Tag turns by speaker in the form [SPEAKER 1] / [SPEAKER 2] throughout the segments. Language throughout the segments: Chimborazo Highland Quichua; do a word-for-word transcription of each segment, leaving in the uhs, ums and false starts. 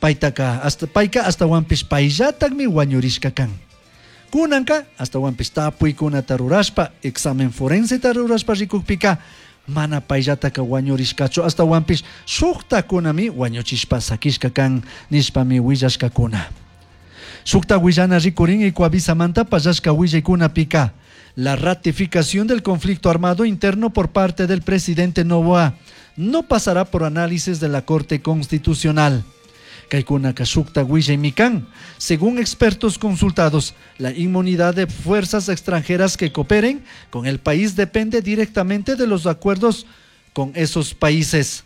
[SPEAKER 1] Paytaka hasta payka ashtawanpish payllatakmi wañurishka kan. Kunanka ashtawanpish tapuykunata rurashpa examen forenseta rurashpa rikukpika mana payllataka wañurishkachu ashtawanpish shuktakunami wañuchishpa sakishka kan nishpami willashkakuna. Shukta willana rikurin Ecuavisamanta pallashka willaykunapika la ratificación del conflicto armado interno por parte del presidente Noboa no pasará por análisis de la Corte Constitucional. Kaykunaka shukta willaymi kan. Según expertos consultados, la inmunidad de fuerzas extranjeras que cooperen con el país depende directamente de los acuerdos con esos países.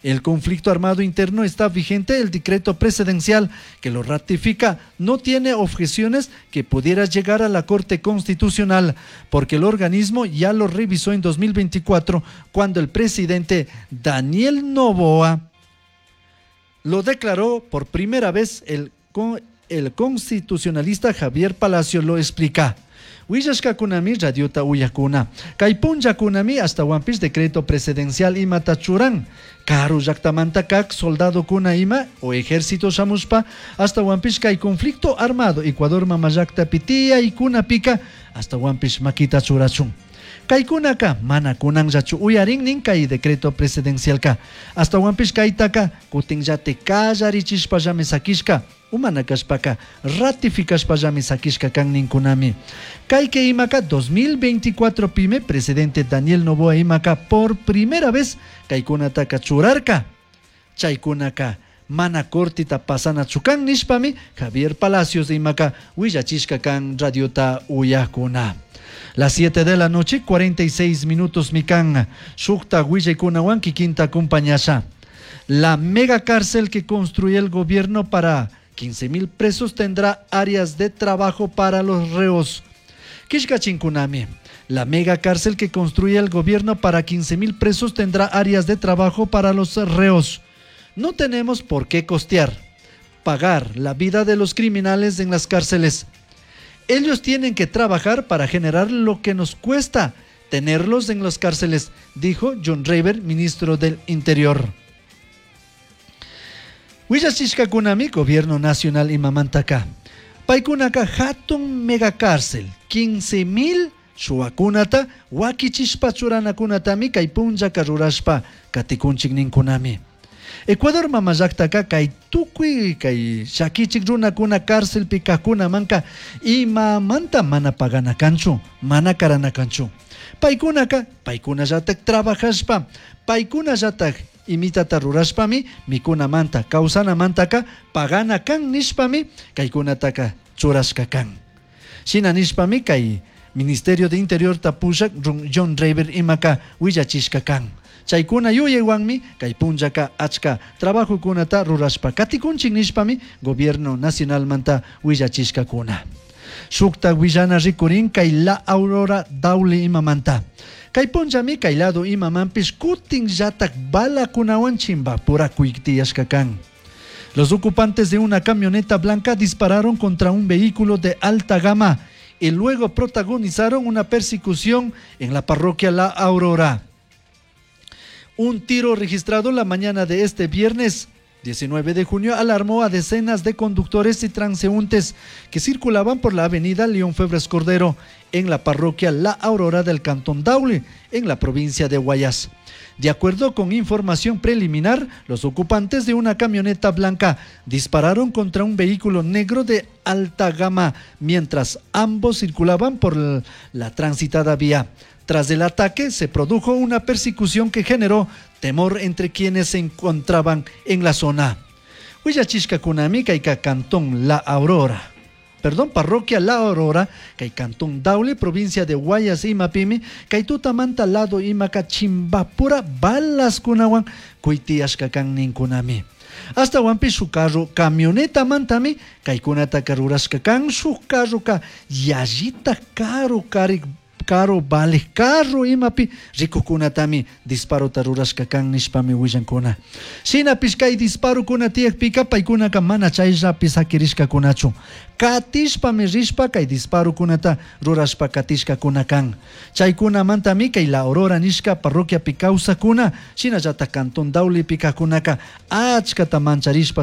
[SPEAKER 1] El conflicto armado interno está vigente, el decreto presidencial que lo ratifica no tiene objeciones que pudiera llegar a la Corte Constitucional, porque el organismo ya lo revisó en dos mil veinticuatro cuando el presidente Daniel Noboa lo declaró por primera vez. El, el constitucionalista Javier Palacio lo explica. Willashkakunami radiota uyakuna. Kay punllakunami ashtawanpish decreto presidencial imata churan. Karu llaktamanta kak soldadokuna ima o ejército shamushpa ashtawanpish kay conflicto armado Ecuador mama llaktapi tiyaykunapika ashtawanpish makita churachun. Kaykunaka mana kunanllachu uyarinnin kay decreto presidencialka. Ashtawanpish kaytaka kutinllate kallarichishpallami sakishka. Umana kashpaka ratifikashpallami sakishka kan ninkunami. Kayke imaka dos mil veinticuatro pime presidente Daniel Noboa imaka por primera vez kaykunataka churarka. Chaykunaka mana cortita pasana chukan nishpami Javier Palacios imaka willachishka kan radiota uyakuna. Las siete de la noche, cuarenta y seis minutos mikan. Shukta willaykunawan kikinta acompañasha. La mega cárcel que construye el gobierno para quince mil presos tendrá áreas de trabajo para los reos. Kishkachinkunami. La mega cárcel que construye el gobierno para quince mil presos tendrá áreas de trabajo para los reos. No tenemos por qué costear, pagar la vida de los criminales en las cárceles. Ellos tienen que trabajar para generar lo que nos cuesta tenerlos en las cárceles, dijo John Rayber, ministro del Interior. Willachishkakunami, Gobierno Nacional imamantaka. Paykunaka hatun megacárcel, quince mil shuwakunata, wakichishpa churanakunatami kay punllaka rurashpa katikunchik ninkunami. Ecuador mama llaktaka kay tukuy kay llakichik runakuna cárcelpi kajkunamanka imamanta mana pagana kanchu, mana karana kanchu. Paykunaka, paykunallatak trabajashpa, paykunallatak imitata rurashpami mikunamanta, kawsanamantaka pagana kan nishpami kaykunataka churashka kan. Shina nishpami kay Ministerio de Interior tapushak John Rayber imaka willachishka kan. Chaykuna yuyaywanmi kay punllaka achka trabajokunata rurashpa katikunchik nishpami Gobierno Nacionalmanta willachishkakuna. Shukta willana rikurin kay La Aurora Daule imamanta. Kay punllami kay lado imamanpish kutin llatak balakunawan chimbapura kuiktiyashka kan. Los ocupantes de una camioneta blanca dispararon contra un vehículo de alta gama y luego protagonizaron una persecución en la parroquia La Aurora. Un tiro registrado la mañana de este viernes diecinueve de junio alarmó a decenas de conductores y transeúntes que circulaban por la avenida León Febres Cordero en la parroquia La Aurora del Cantón Daule, en la provincia de Guayas. De acuerdo con información preliminar, los ocupantes de una camioneta blanca dispararon contra un vehículo negro de alta gama mientras ambos circulaban por la transitada vía. Tras el ataque se produjo una persecución que generó temor entre quienes se encontraban en la zona. Huillachishka kunami kayka Cantón La Aurora. Perdón, parroquia La Aurora, kay Cantón Daule, provincia de Guayas y Mapimi, kay tutamanta lado imaka chimbapura balas kunawan kuitiashka kan ninkunami. Hasta wampi su carro, camioneta mantami, kay kunata karurashka kan su carro ka yallita caro cari caro vale carro imapi rikukunatami disparo rurashka kan nishpami willankuna. Shinapish kay disparokuna tiyakpika paykunaka mana chayllapi sakirishkakunachu. Katishpami rishpa kay disparokunata rurashpa katishkakuna kan. Chaykunamantami kay La Aurora nishka parroquiapi kawsakuna shinallata Cantón Daulepi kajkunaka achkata mancharishpa